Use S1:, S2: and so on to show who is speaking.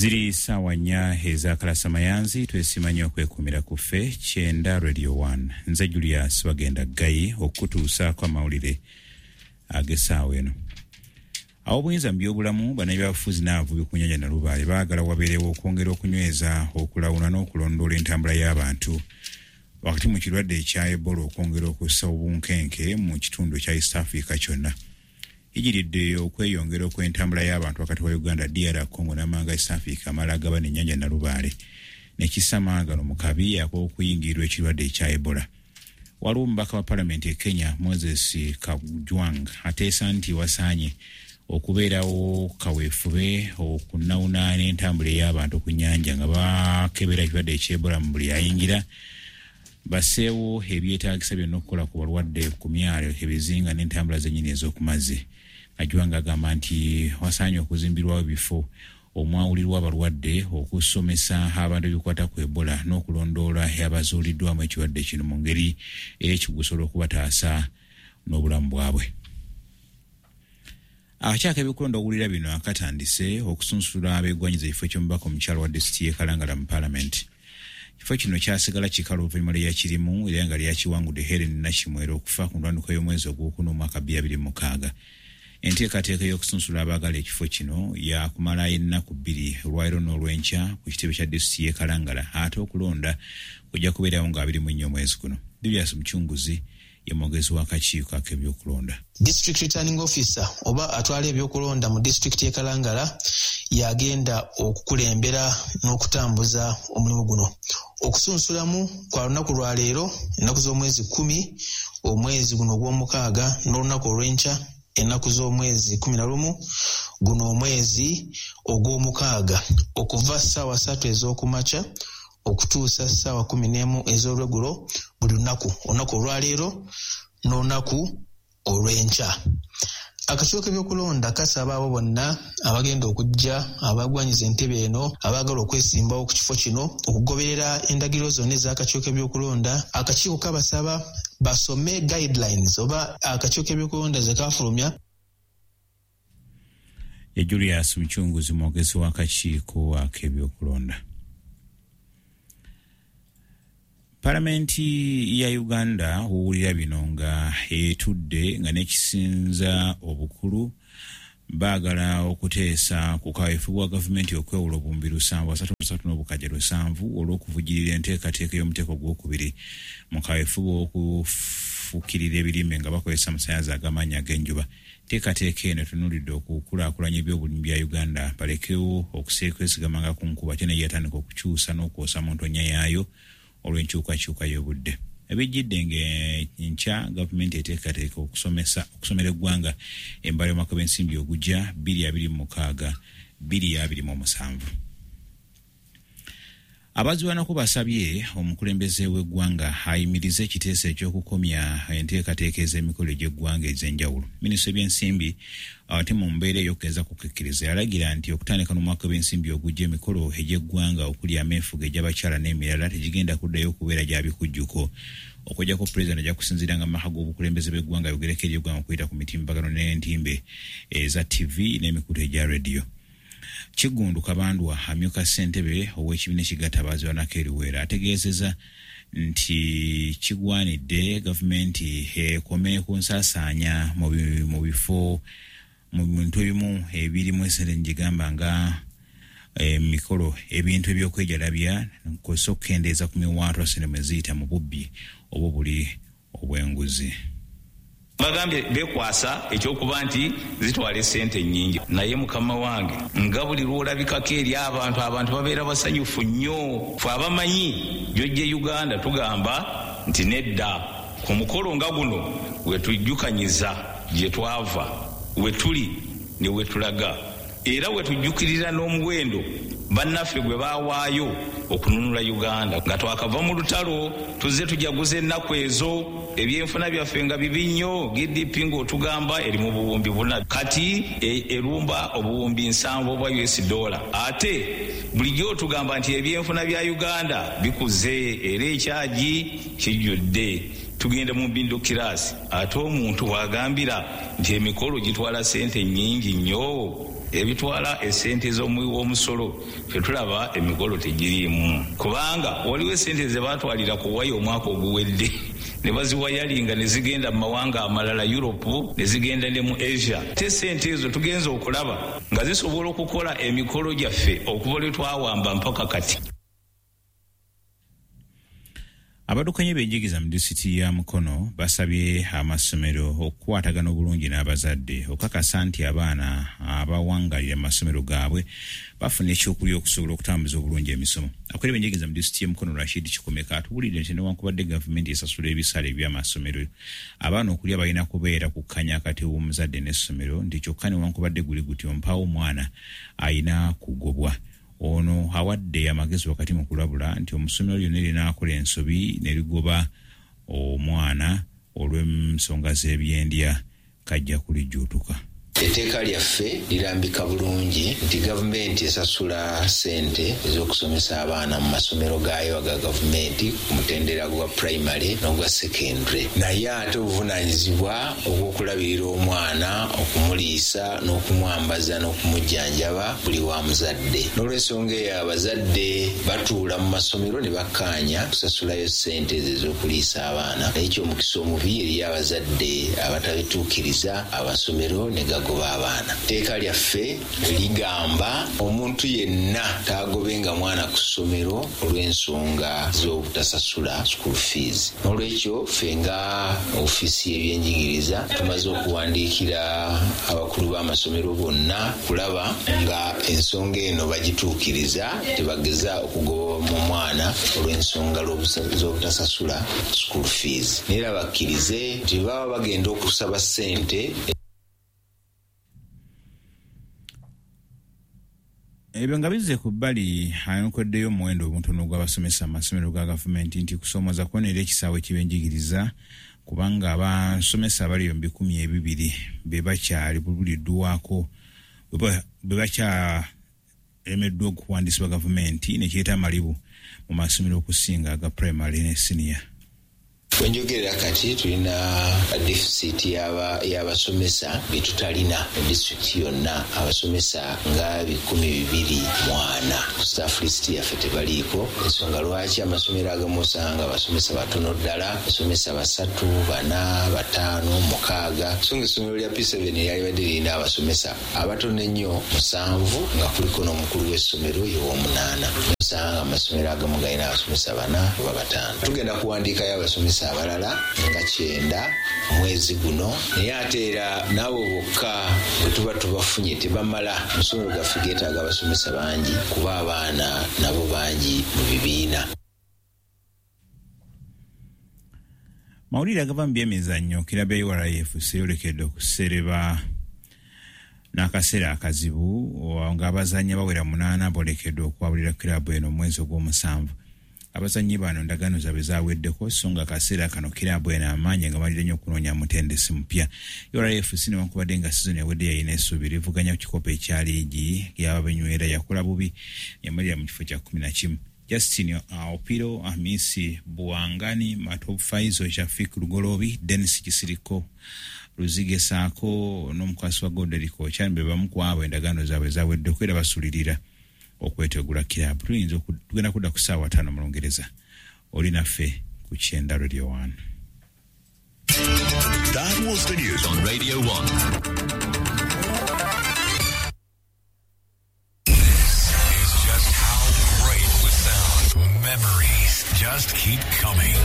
S1: Ziri ssaawa 4 ez'akalasamayanzi. Twesiima nnyo okwekumira ku ffe 90 Radio 1. Nze Julius Bagenda Ggayi okukutuusaako amawulire ag'essaawa eno. Ab'obuyinza mu byobulamu, bannabyabufuzi n'abavubi ku nnyanja Nalubaale baagala wabeerewo okwongera okunyweza okulawuna n'okulondoola entambula y'abantu wakati mu kirwadde ekya Ebola okwongera okussa obunkenke mu kitundu ekya East Africa kyonna. Ijiridde okweyongera okw'entambula y'abantu wakati wa Uganda, DR Congo n'amawanga East Africa amala agabana ennyanja Nalubaale ne kissa maagano mu kabi ak'okuyingirirwa ekirwadde ekya Ebola. Waliwo omubaka wa palamenti e Kenya, Moses Kajwang, ateesa nti wasaanye okubeerawo kaweefube okunawuna n'entambula ey'abantu ku nnyanja nga bakebera ekirwadde eky'Ebola mu buli ayingira, basseewo ebyetaagisa byonna okukola ku balwadde ku myalo, ebizinga n'entambula zennyini ez'oku mazzi. Kajwang agamba nti wasaanye okuzimbirwawo ebifo omwawulirwa abalwadde, okusomesa abantu ebikwata ku Ebola n'okulondoola abazuuliddwamu ekirwadde kino mu ngeri ey'ekikugu okubataasa n'obulamu bwabwe. Akakiiko k'ebyokulonda owulira bino akatandise okusunsula abeegwanyiza ekifo ky'omubaka omukyala wa disitulikiti y'e Kalangala mu paalamenti. Ekifo kino kyasigala kikala oluvannyuma lw'eyakirimu era nga lyakiwangudde Helen Nakimwero okufa ku ntandikwa y'omwezi ogwokuna omwaka 2026. Enteekateeka ey'okusunsula abaagala ekifo kino yakumala ennaku 2, olwaleero n'olwenkya, ku kitebe kya disitulikiti y'e Kalangala, ate okulonda kujja kubeerawo nga 24 omwezi guno. Julius Mucunguzi ye mwogezi w'akakiiko ak'ebyokulonda.
S2: District returning officer oba atwala ebyokulonda mu disitulikiti y'e Kalangala yagenda okukulembera n'okutambuza omulimu guno. Okusunsulamu kwa lunaku lwa leero, ennaku z'omwezi 10 omwezi guno ogw'omukaaga, n'olunaku olw'enkya, ennaku z'omwezi 11 guno omwezi ogw'omukaaga, okuva ssaawa 3 ez'okumakya okutuusa ssaawa 11 ez'olweggulo buli lunaku, olunaku olwaleero n'olunaku olw'enkya. Akakiiko k'ebyokulonda kasaba abo bonna abagenda okujja abagwanyiza entebe eno, abaagala okwesimbawo ku kifo kino, okugoberera endagiriro zonna ez'akakiiko k'ebyokulonda. Akakiiko kabasaba basome guidelines oba akakiiko k'ebyokulonda ze kafulumya.
S1: Ye Julius Mucunguzi, mwogezi w'akakiiko ak'ebyokulonda. Palamenti ya Uganda owulira bino nga etudde nga n'ekisinza obukulu baagala okuteesa ku kaweefube bwa gavumenti okwewola 733,700 olw'okuvujjirira enteekateeka y'omuteeko ogwokubiri mu kaweefube okufukirira ebirime nga bakozesa amasannyalaze ag'amaanyi ag'enjuba. Enteekateeka eno etunuulidde okukulaakulanya ebyobulimi bya Uganda balekewo okuseekwesigamanga ku nkuba, ate naye yatandika okukyusa n'okwosa mu ntonya yaayo olw'enkyukakyuka y'obudde. Ebijjidde ng'enkya gavumenti eteekateeka okusomesa okusomera eggwanga embala y'omwaka gw'ensimbi ogujja 2026 2027. Abazirwanako basabye omukulembeze w'eggwanga ayimirize ekiteeso ekyokukomya enteekateeka ez'emikolo egy'eggwanga ez'enjawulo. Minisita w'ebyensimbi ate mu mbeera ey'okugeza kukkiriza yalagira nti okutandika n'omwaka w'ensimbi ogujja, emikolo egy'eggwanga okuli ameefuga egy'abakyala n'emirala tegigenda kuddayo okubeera gya bikujjuko, okuggyako pulezidenti ajja kusinziiranga mu maka g'obukulembeze bw'eggwanga ayogereko eri eggwanga okuyita ku mitimbagano n'entimbe eza TV n'emikutu egya rediyo. Kiggundu Kabandwa, amyuka ssentebe ow'ekibiina ekigatta abaazirwanako e Luweero, ategeezezza nti kigwanidde gavumenti ekome ku nsaasaanya mu bifo mu bintu ebimu ebirimu esente ngigamba nga emikolo, ebintu ebyokwejalabya, kw'ossa okukendeeza ku miwaatwa ssente mwe ziyita mu bubbi oba obuli obw'enguzi.
S3: Bagambye bekwasa ekyokuba nti zitwala esente nnyingi, naye mukama wange, nga buli lw'olabikako eri abantu, abantu babeera basanyufu nnyo. Fe abamanyi gy'ojje Uganda tugamba nti nedda. Ku mukolo nga guno wetujjukanyiza gye twava, we tuli ne we tulaga, era wetujjukirira n'omuwendo bannaffe gwe baawaayo okununula Uganda. Nga twakava mu lutalo, tuzze tujaguza ennaku ezo, ebyenfuna byaffe nga bibi nnyo. GDP ng'otugamba eri mu 4,000, kati erumba 70,000 obwa US dollar. Ate bulijjo otugamba nti ebyenfuna bya Uganda bikuze era ekyagi kijjudde, tugenda mu middle class, ate omuntu wagambira nti emikolo gitwala sente nnyingi nnyo. Ebitwala essente z'omuwi w'omusolo ffe tulaba emikolo tegiriimu, kubanga waliwo essente ze baatwalira ku waya omwaka oguwedde ne baziwayalinga ne zigenda mu mawanga amalala, Europe, ne zigenda ne mu Asia. Te ssente ezo tugenza okulaba nga zisobola okukola emikolo gyaffe okuva lwe twawamba mpaka kati.
S1: Abaddukanya ebyenjigiriza mu disitulikiti ya Mukono basabye amasomero okukwatagana obulungi n'abazadde okukakasa nti abaana abawangalira mu masomero gaabwe bafuna ekyokulya okusobola okutambuza obulungi emisomo. Akulira ebyenjigiriza mu disitulikiti y'e Mukono Rashid Kikomeka atubuulidde nti newankubadde gavumenti esasula ebisale by'amasomero, abaana okulya balina kubeera kukkanya akati w'omuzadde n'essomero, nti kyokka newankubadde guli gutyo mpaawo omwana ayina kugobwa. Ono awadde amagezi wakati mu kulabula nti omusomero lyonna linaakola ensobi ne ligoba omwana olw'ensonga z'ebyendya kajja kulijjuutuka.
S4: Etteeka lyaffe lirambika bulungi nti gavumenti esasula ssente ez'okusomesa abaana mu masomero gaayo aga gavumenti ku mutendera gwa primary n'ogwa secondary, naye ate obuvunaanyizibwa obw'okulabirira omwana, okumuliisa n'okumwambaza n'okumujjanjaba buli wa muzadde. N'olw'ensonga eyo abazadde batuula mu masomero ne bakkaanya kusasulayo ssente ezo ez'okuliisa abaana, naye ky'omukisa omubi eri abazadde abatabituukiriza, amasomero ne gagoba abaana. Etteeka lyaffe ligamba omuntu yenna taagobenga mwana ku ssomero olw'ensonga z'obutasasula school fees. N'olwekyo ffe nga ofiisi y'ebyenjigiriza tumaze okuwandiikira abakulu b'amasomero bonna kulaba nga ensonga eno bagituukiriza, tebageza okugoba mu mwana olw'ensonga z'obutasasula school fees. Naye era bakkirize nti baba bagenda okusaba ssente.
S1: Ebyo nga bizze ku bbali, ayokoddeyo omuwendo omutono gw'abasomesa mu masomero ga gavumenti nti kusoomoza kwona era ekisaawe ky'ebyenjigiriza, kubanga abasomesa abali mu 2000 be bakyali buliddwako be bakyalemeddwa okuwandiisibwa gavumenti, ne kireeta amalibu mu masomero okusinga aga primary ne senior.
S4: Wenjogerera kati tulina deficit y'abasomesa be tutalina mu disitulikiti yonna, abasomesa nga 204 ku staff list yaffe tebaliiko. Ensonga lwaki amasomero agamu osanga abasomesa batono ddala, abasomesa 3, 4, 5, 6, so nga essomero lya P7 lyalibadde lirina abasomesa abatono ennyo 7, nga kuliko n'omukulu w'essomero ye w'omunaana. Osanga amasomero agamu galina abasomesa 4 oba 5. Tugenda kuwandiikayo abasomesa abalala nga 9 mwezi guno, naye ate era n'abo bokka bwe tuba tubafunye tebamala. Amasomero gaffe geetaaga abasomesa bangi kuba abaana nabo bangi mu bibiina.
S1: Mawulire agava mu byemizannyo, kirabo ya URF eyolekedde okusereba n'akaseera akazibu ng'abazannyi abawera 8 boolekedde okwabulira kiraabu eno omwezi ogw'omusanvu. Abazannyi bano endagaano zaabwe zaaweddeko, so nga akaseera kano kiraabu eno amaanyi nga malire nnyo okunoonya mutendesi mupya. URFC newankubadde nga sizoni ewedde yalina essuubi livuganya ku kikopo ekya liigi y'ababenywera, yakola bubi yamalira mu kifo kya 11. Justin Opiro, Hamisi Buwangani, Matob Faizo, Shafik Lugolobi, Dennis Kisiriko, Luzige Saako n'omukwasi wa Goderico Ochan be bamu ku abo endagaano zaabwe zaweddeko era basulirira okwetegula kiraabu. Tuyinza tugenda kudda ku ssaawa 5 mu Lungereza. Oli naffe ku Kyenda Radio 1.
S5: That was the news on Radio 1. This is just how great we sound. Memories just keep coming.